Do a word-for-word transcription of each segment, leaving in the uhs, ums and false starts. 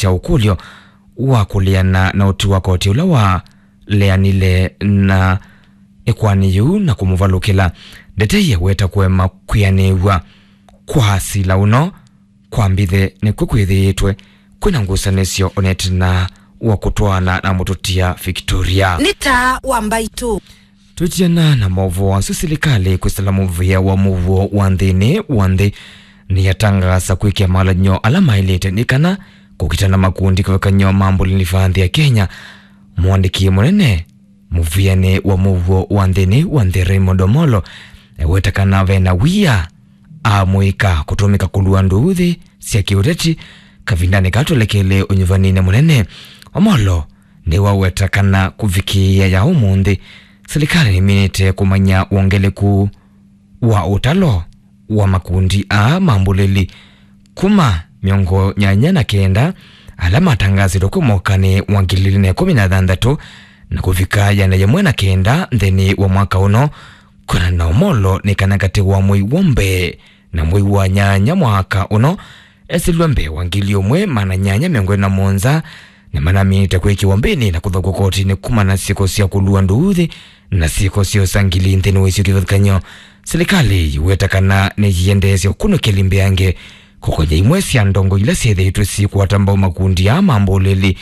kya ũkũlyo wa kũleana na ũtwi wa koti ũla waleanile na ĩkoani yĩu na kũmũvalũkĩla. Ndetei aweta kũema kwĩanĩw'a kwa sila ũno kwa mbithe nĩkw'o kwĩthĩĩtwe kwĩna ngusanĩsyo onetena wa kũtwaana na mũtũtia Victoria. Nĩ taa wa mbaitũ. Twĩtiana na maũvoo asu, silikalĩ kwĩsĩla mũvĩa wa mũuo wa nthĩnĩ wa nthĩ nĩyatangaasa kwĩkĩa malany'o ala maĩlĩte nĩ kana kũkita na makundi kĩvathũkany'o ma mbũlĩli va nthĩ ya Kenya. Mũandĩki mũnene mũvĩanĩ wa mũuo wa nthĩnĩ wa nthĩ Raymond Omolo eweta kana ve na wia amũika kũtũmĩka kũlua ndũũthĩ sya kĩũteti kavindanĩ kaa twelekeele ũnyuvaninĩ mũnene. Omolo nĩwaweta kana kũvikĩĩa ya ũmũnthĩ, silikalĩ nĩminĩte kũmanya wongeleku wa ũtalo wa makundi aa ma mbũlĩli kuma mĩongo nyanya na kenda ala matangaasĩtwe kwĩ mwakanĩ wa ngili ilĩ na ĩkũmi na thanthatũ na kũvika ĩana yĩmwe na kenda nthĩnĩ wa mwaka ũno. Kwĩanana na Omolo, nĩ kana katĩ wa mwei wa mbee na mwei wa nyanya mwaka ũno, esĩlw'a mbee wa ngili ũmwe maana nyanya mĩongo ĩlĩ na mũonza nĩmanaminĩte kwĩkĩwa mbĩnĩ na kũthaũkwa kotinĩ kumana na syĩko sya kũlua ndũũthĩ na syĩko sya ũsangili nthĩnĩ wa isio kĩvathũkany'o. Silikalĩ yĩweta kana nĩyĩendeesya ũkunũkĩli mbeange kũkony'a imwe sya ndongo ila syĩthĩĩtwe syĩkwata mbau makundi aa ma mbũlĩli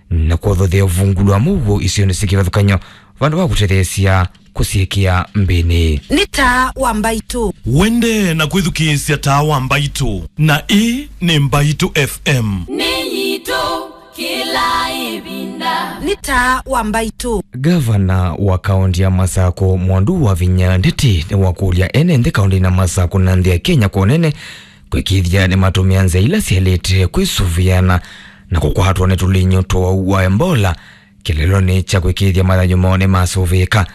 na kũthothea ũvungũlu wa mũuo isionĩ syĩ kĩvathũkany'o vandũ va kũtetheesya kũsyĩkĩa mbĩnĩ. Nĩ taa wa mbaitũ. Wendee na kwĩthukĩĩsya taa wa mbaitũ, na ĩĩ nĩ Mbaitũ F M. Nĩ yitũ kĩla ĩvinda. Nĩ taa wa mbaitũ. Gavana wa kaũnti ya Masakũ, Mwandu wa Vinya Ndeti, nĩwakũlya ene nthĩ kaũntinĩ ya Masakũ na nthĩ ya Kenya kwa ũnene kwĩkĩĩthya nĩmatũmĩa nzĩa ila syaĩlĩte kwĩsũvĩana na kũkwatwa nĩ tũlinyũ twa ũwau wa Ebola kĩlelonĩ kya kwĩkĩĩthya mathayũ moo nĩmasũvĩĩka.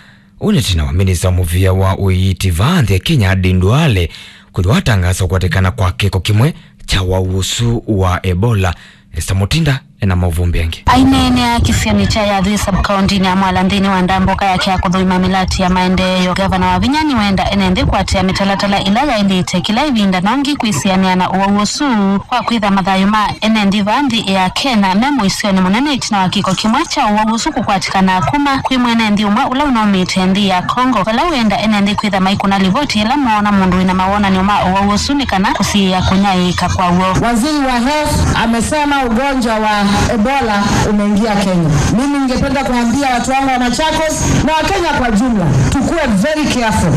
Ũũ nĩ ĩtina wa minista wa mũvĩa wa ũiiti vaa nthĩ ya Kenya, Aden Duale, kwĩthĩwa atangaasa kũkwatĩkana kwa kĩko kĩmwe kya ũwau ũsu wa Ebola. Esther Mutinda ena maũvoo angĩ. Aineenea kĩsionĩ kya Yathwĩ sub-county-inĩ ya Mwala nthĩnĩ wa ndambũka yake ya kũthũima mĩlati ya maendeeo, Gavana Wavinya nĩwenda ene nthĩ kũatĩĩa mĩtalatala ĩla yaĩlĩte kĩla ĩvinda nongi kwĩsĩanĩa na ũwau ũsu kwa kwĩtha mathayũ ma ene nthĩ vaa nthĩ ya Kenya me mũisyonĩ mũnene ĩtina wa kĩko kĩmwe kya ũwau ũsu kũkwatĩkana kuma kwĩ mwene nthĩ ũmwe ũla ũnaumĩte nthĩ ya Congo, vala wenda ene nthĩ kwĩtha maikũna livoti ĩla moona mũndũ wĩna mawonany'o ma ũwau ũsu nĩ kana kũsiĩĩa kũnyaĩĩka kwaw'o. Waziri wa Health amesema ugonjwa wa Ebola umeingia Kenya. Mimi ningependa kuambia watu wangu wa Machakos na Wakenya kwa jumla, tukue very careful.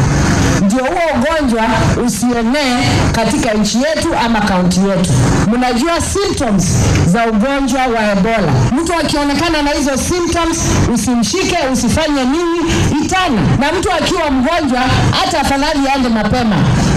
Ndio huo ugonjwa usienee katika nchi yetu ama kaunti yetu. Mnajua symptoms za ugonjwa wa Ebola. Mtu akionekana na hizo symptoms, usimshike, usifanye nini, itana. Na mtu akiwa mgonjwa, hata afadhali aende mapema,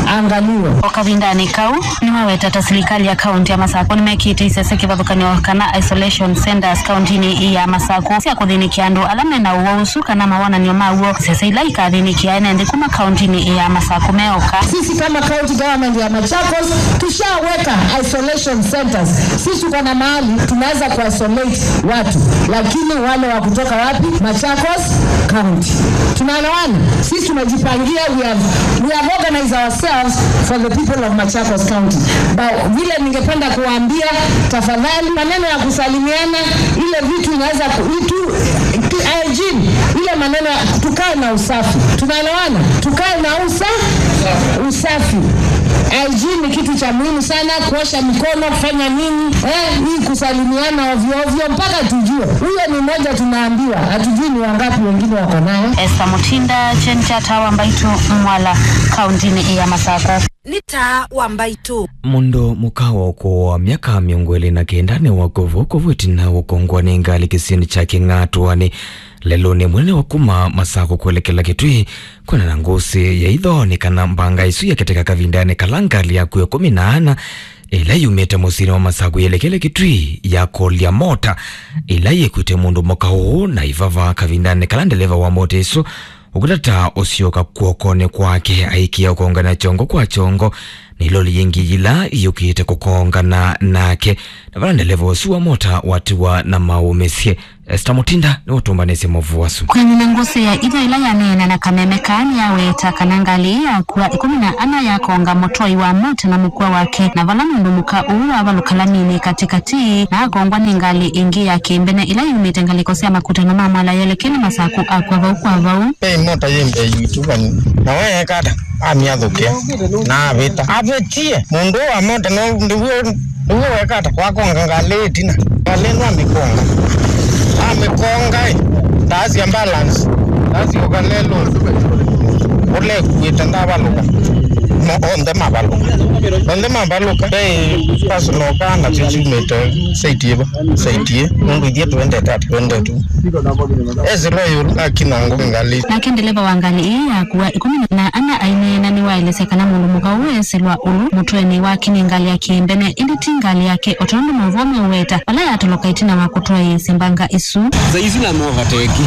aangaliwe. O kavindanĩ kau, nĩmaweta ta silikalĩ ya kaunti ya Masakũ nĩmekĩte isese kĩvathũkany'o kana isolation centers kauntinĩ ĩĩ ya Masakũ sya kũthĩnĩkĩa andũ ala mena ũwau ũsu kana mawonany'o maw'o, isese ila ikathĩnĩkĩa ene nthĩ kuma kauntinĩ ĩĩ ya Masakũ meoka. Sisi kama county government ya Machakos tushaweka isolation centers. Sisi tuko na mahali tunaweza kuisolate watu, lakini wale wa kutoka wapi? Machakos County. Tunaelewana? Sisi tumejipangia, we have, we have organized ourselves for the people of Machakos County. But vile ningependa kuwaambia, tafadhali, maneno ya kusalimiana, ile vitu inaweza ku-, itu, tu-, hygiene, ile maneno ya, tukae na usafi. Tunaelewana? Tukae na usa-, usafi. Hygiene ni kitu cha muhimu sana, kuosha mikono, kufanya nini, eh, hii kusalimiana ovyo ovyo, mpaka tujue. Huyo ni mmoja tunaambiwa, hatujui ni wangapi wengine wako nayo. Esther Mutinda, Kyeni kya Taa wa Mbaitũ, Mwala, kauntinĩ ya Masakũ. Nĩ Taa wa Mbaitũ. Mũndũ mũka wa ũkũũ wa myaka mĩongo ĩlĩ na kenda nĩwakw'o vokovu ĩtina wa kũngwa nĩ ngalĩ kĩsionĩ kya Kĩng'atũanĩ lelũnĩ mũnene wa kuma Masakũ kwelekela Kitui. Kwĩna na ngũsĩ ya itho nĩ kana mbanga ĩsu yaketeka kavindanĩ kala ngalĩ ya kw'o ĩkũmi na ana ĩla yumĩte mũsyĩnĩ wa Masakũ yelekele Kitui yakolya mota ĩla yĩkwĩte mũndũ mũka ũũ na ivava kavindanĩ kala ndeleva wa mota ĩsu ũkũtata ũsyoka kw'okonĩ kwake, aikia ũkongana kyongo kwa kyongo nĩ iloli yĩngĩ yĩla yũkĩte kũkongana nake. Na vala ndeleva ũsu wa mota watiwa na maũmĩsye. Esther Mutinda nĩwe ũtũmbanĩsye maũvoo asu. Kwenyu nĩ ngũsĩ ya itho ĩla yaneena na kameme kaa nĩyaweta kana ngalĩ ĩĩ yakua ĩkũmi na ana yakonga mũtwai wa mota na mũkua wake, na vala mũndũ mũka ũũ wavalũka laminĩ katĩkatĩ na akongwa nĩ ngalĩ ĩngĩ ya kĩmbene ĩla yumĩte ngalĩko sya makutano ma Mwala yelekele Masaku akw'a vau kwa vau. Ve mota yĩ mbee yitũ vau, na we eka ata? Amĩathũkĩa na avĩta. Avĩtie mũndũ wa mota, no ndĩw'o Nĩw'o weka ata? Wakonga ngalĩ ĩtina. Ngalĩ ĩno amĩkonga. Amĩkonga ĩ. Ndaasya balance. Ndaasyoka lelo. Ũlekuĩte ndavalũka. Mo onthe mavalũka. Onthe mavalũka. Ve personal kaa nasyo syumĩte site ĩva. Site ĩ. Nũndũ ithyĩ twendete ata? Twendete. Esĩlwa ĩũlũ akina ngo ngalĩ. Nake ndeleva wa ngalĩ ĩĩ yakua ĩkũmi na ana aineena nĩwaelesya kana mũndũ mũka ũũ esĩlwa ũlũ mũtwenĩ wakinie ngalĩ ya kĩmbene, ĩndĩ ti ngalĩ yake, o tondũ maũvoo meũweta vala yatoloka ĩtina wa kũtwaĩĩsya mbanga ĩsu. Saa ici na movateki.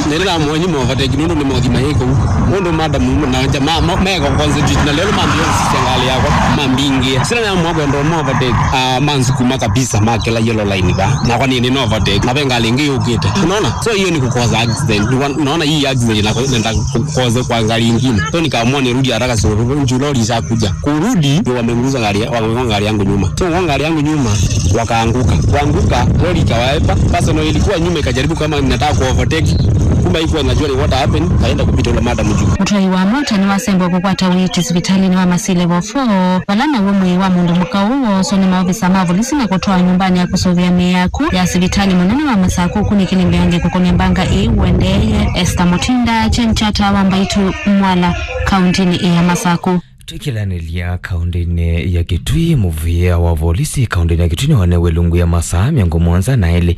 Na ĩla namũonyi movateki nũndũ nĩ mothi mayĩ kũu. Nũndũ madamu na nja ma, ma, meko concentrate na lelo mambia sisya ngalĩ yakwa mambingĩa. Sila namũa kwenda movateki, ah, mansukuma kabisa makela yellow line va. Nakwa nĩ, nĩ novateki. Na ve ngalĩ ĩngĩ yũkĩte. Unaona? So hiyo ni kukosa accident. Ni wa-, unaona hii accident inaenda kukosa kwa gari ingine. So nikaamua nirudi haraka, so ndio lori ishakuja. Kurudi, ndio wameguza gari, wamegonga gari yangu nyuma. So wamegonga gari yangu nyuma, wakaanguka. Kuanguka, lori ikawaepa. Sasa ndio ilikuwa nyuma ikajaribu kama inataka ku overtake. Kumbe haikuwa inajua ni what happened, kaenda kupita ule madam juu. Mũtwai wa mota nĩwasembwa kũkwata ũiiti sivitalĩnĩ wa Masii Level four, vala naw'o mwĩĩ wa mũndũ mũka ũũ wooswa nĩ maovisa ma volisi na kũtwawa nyũmbanĩ ya kũsũvĩa mĩĩ yaku ya sivitalĩ mũnene wa Masaku, kunĩkĩle mbeange kũkomya mbanga ĩĩ ũendeeye. Esther Mutinda, Chen Chata wa Mbaitu, Mwala, kauntinĩ ya Masaku. Twĩkĩlanĩlya kaũndĩnĩ ya Kitui, mũvĩa wa volisi kaũndĩnĩ ya Kitui nĩwanewe ilungu ya masaa mĩongo mũonza na elĩ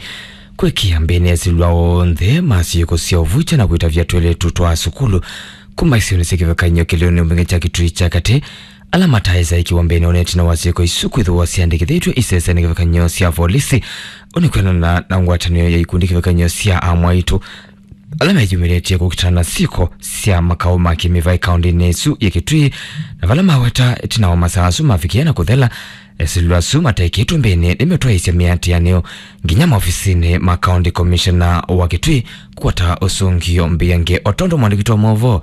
kwĩkĩa mbĩnĩ esĩlwa onthe ma syĩko sya ũvukya na kwĩtavya twĩlĩtu twa sukulu kuma isionĩ sya kĩvathũkany'o kĩlĩonĩ mbunge kya Kitui kya katĩ, ala mataĩsa ĩkĩwa mbĩnĩ ona ĩtina wa syĩko isu kwĩthĩwa syandĩkĩthĩtw'e isesenĩ kĩvathũkany'o sya volisi. Ũnĩ kwĩanana na ngwatanĩo ya ikundi kĩvathũkany'o sya amwaitũ ala meyumĩlĩtye kũkitana na syĩko sya makaũ ma kĩmĩvaĩ kaũndĩnĩ ĩsu ya Kitui, na vala maweta ĩtina wa masaa asu mavikĩa na kũthela, esĩlwa asu matekĩtwe mbĩnĩ nĩmetwaĩĩsya mĩatĩanĩo nginya maovisinĩ ma County Commissioner wa Kitui kũkwata ũsũngĩo mbeange, o tondũ mwandĩki witũ wa maũvoo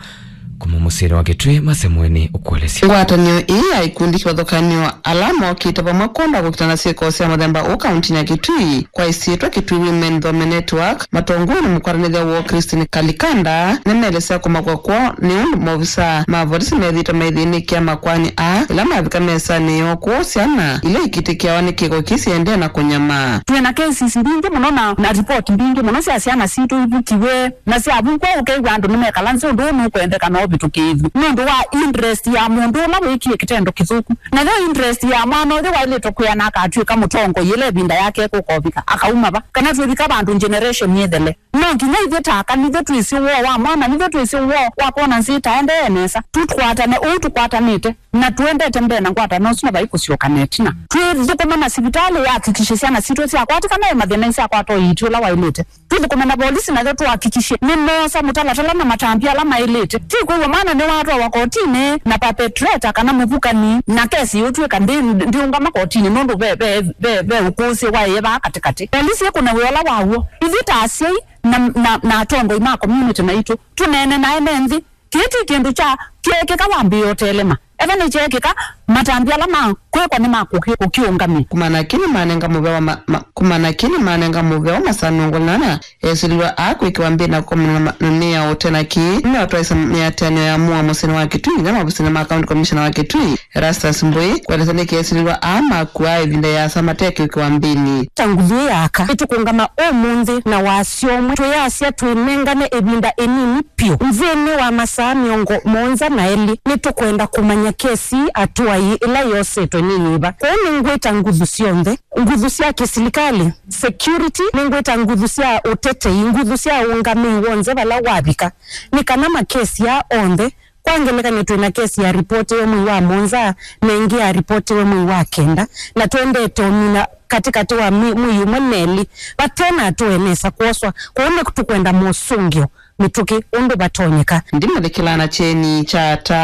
kuma mũsyĩnĩ wa Kitui Mase Mũeni ũkũelesya. Ngwatanĩo ĩĩ ya ikundi kĩvathũkany'o ala mokĩte vamwe kwonda kũkitana na syĩko sya mũthemba ũũ kaũntinĩ ya Kitui kwa ĩsyĩtwa Kitui Women Thome Network, matongoew'e nĩ mũkwatanĩthya woo Christine Kalikanda, nĩmeelesya kũmakwa kwoo nĩ ũndũ maovisa ma volisi methĩĩtwe maithĩnĩkĩa makoani aa ĩla mavika mesanĩ yoo kwoou syana ila ikitĩkĩawa nĩ kĩko kĩĩ siendee na kũnyamaa. Twĩ na cases mbingĩ mũno na, na report mbingĩ mũno sya syana sitũ ivukiwe, na syavukwa ũkew'a andũ nĩmekala nzĩ ũndũ ũũ nũkwendeka na ũvĩtũkĩĩthw'e nũndũ wa interest ya mũndũ ũla wĩkie kĩtendo kĩthũku. Nayo interest ya mwana ũyũ waĩlĩtwe kwĩana akatw'ĩka mũtongoi ĩla ĩvinda yake ĩkũkovika, akauma va, kana twĩvika vandũ generation ĩthele. No nginya ithyĩ ta aka, nithyĩ twĩsĩ woo wa mwana, nithyĩ twĩsĩ woo wa kwona nzĩ ĩtaendee nesa. Tũkwatane ũu tũkwatanĩte, na tũendete mbee na ngwatanĩo ũsu, na vai kũsyoka na ĩtina. Twĩthũkũme na sivitalĩ yahakikishe syana sitũ syakwatĩkana ĩ mathĩna, isyakwata ũiiti ũla waĩlĩte. Twĩthũkũme na volisi nayo tũhakikishe nĩmoosa mũtalatala na matambya ala maĩlĩte. Ti kwĩw'a mwana nĩwatwawa kotinĩ na perpetrator kana mũvukani, na kesi yũtw'ĩka ndĩ-, ndĩũngama kotinĩ nũndũ ve, ve, ve, ve ũkũsĩ waĩe vaa katĩkatĩ. Volisi ĩkũne wĩa ũla waw'o. Ithyĩ ta asyai na, na, na atongoi ma community maitũ, tũneene na ene nthĩ. Kĩĩ ti kĩndũ kya kyeekĩka wambĩĩa ũtelema. Ethwa nĩkyeekĩka, matambya ala ma kwĩkwa nĩ ma kũkĩ-, kũkĩũngamĩa. Kumana na kĩĩ nĩmanenga mũvea wa ma-, ma-, kumana na kĩĩ nĩmanenga mũvea wa masaa mĩongo ĩna na ana esĩlĩlwa aa kwĩkĩwa mbĩnĩ na kũkomana na ma-, na mĩao. Ũte na kĩĩ, nĩmeũtwaĩĩsya mĩatĩanĩo ya mũoa mũsyĩnĩ wa Kitui, nginya maovisinĩ ma County Commissioner wa Kitui, Erastus Mbũi, kũelesya nĩkĩ esĩlĩlwa aa makuaa ĩvinda yĩasa mate kwĩkĩwa mbĩnĩ. Ta nguthu ĩĩ ya aka, nĩtũkũngama ũmũnthĩ na wasya ũmwe, twĩyasya twĩnengane ĩvinda ĩnini vyũ. Nthĩnĩ wa masaa mĩongo mũonza na elĩ, nĩtũkwenda kũmanya kesi atũai ĩla yosetwe nĩ yĩva. Kwoou nĩngwĩta nguthu syonthe, nguthu sya kĩsilikalĩ, security, nĩngwĩta nguthu sya ũtetei, nguthu sya ũngamĩi w'onthe vala wavika, nĩ kana makesi aa onthe, kwa ngelekany'o twĩ na kesi yaripotĩwe mwei wa mũonza, na ĩngĩ yaripotĩwe mwei wa kenda, na twendete ũmina katĩkatĩ wa mi-, mwei ũmwe na elĩ, vate na atũe nesa kwoswa. Kwoou nĩtũkwenda mosũngĩo mĩtũkĩ ũndũ vatonyeka. Ndimũthikĩlaa na kyeni kya ata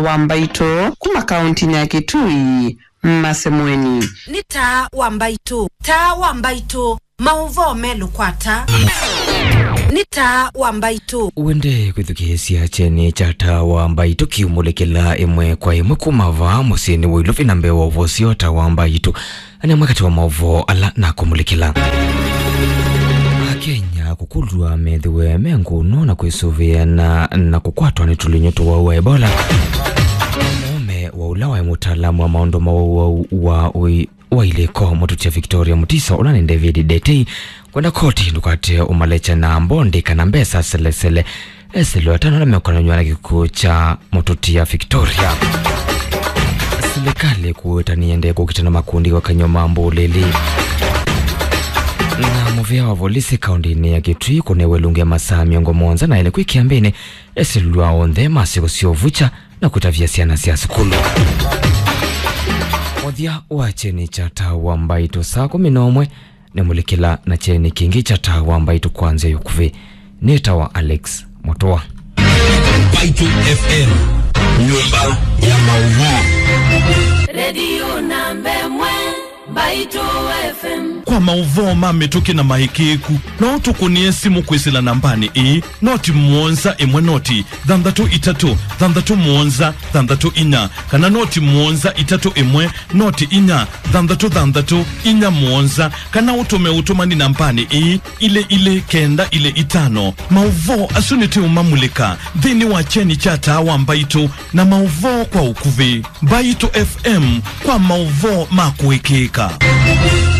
wa mbaitũ kuma kaũntinĩ ya Kitui, Masemweni. Nĩ taa wa Mbaitũ. Taa wa Mbaitũ. Maũvoo me lũkwata. Nĩ taa wa Mbaitũ. Wende kwĩthukĩĩsya kyeni kya taa wa Mbaitũ kĩumũlĩkĩla ĩmwe kwa ĩmwe kuma vaa mũsyĩnĩ wa Ilovi na mbee wa ũvosyo taa wa Mbaitũ. Nĩ amwe katĩ wa maũvoo ala nakũmũlĩkĩla. Akenya kũkũlw'a methĩwe me ngũno na kwĩsũvĩana na kũkwatwa nĩ tũlinyũ tũwau wa Ebola. Mũũme wa ũla waĩ mũtaalamu wa maũndũ ma ũwau wa ũi wa ilĩko, mũtũtia Victoria Mutisa, ũla nĩ David Detei, kwenda koti ndũkate ũmalekya na mbondi kana mbesa selesele. Esĩlwe atano ala mekonanywa na kĩkw'ũ kya mũtũtia Victoria. Silikalĩ kũweta nĩyendee kũkita na makundi kwa kany'o ma mbũlĩli. Na mũvĩa wa volisi kaũndĩnĩ ya Kitui kũnewe lungu ya masaa mĩongo mũonza na elĩ kwĩ kĩambĩnĩ esĩlwa onthe masiko sya ũvucha na kũtavya syana sya sukulu. Mũthya wa kyeni kya taa wa Mbaitũ saa kũmi na ũmwe nĩ mũlĩkĩla na kyeni kĩngĩ kya taa wa Mbaitũ kwa nzĩa ya ũkuvĩ. Nĩtawa Alex Mũtũa. Mbaitũ F M, nyũmba ya maũvoo. Redio namba ĩmwe, Mbaitũ F M. Kwa maũvoo ma mĩtũkĩ na maĩkĩĩku, no ũtũkũnĩe simũ kwĩsĩla nambanĩ ĩĩ, noti mũonza ĩmwe noti thanthatũ itatũ thanthatũ mũonza thanthatũ inya, kana noti mũonza itatũ ĩmwe noti inya thanthatũ thanthatũ inya mũonza, kana ũtũme ũtũmani nambanĩ ĩĩ, ilĩ ilĩ kenda ilĩ itano. Maũvoo asu nĩtũũmamulĩka nthĩnĩ wa kyeni kya taa wa Mbaitũ na maũvoo kwa ũkuvĩ. Mbaitũ F M kwa maũvoo ma kũĩkĩĩka.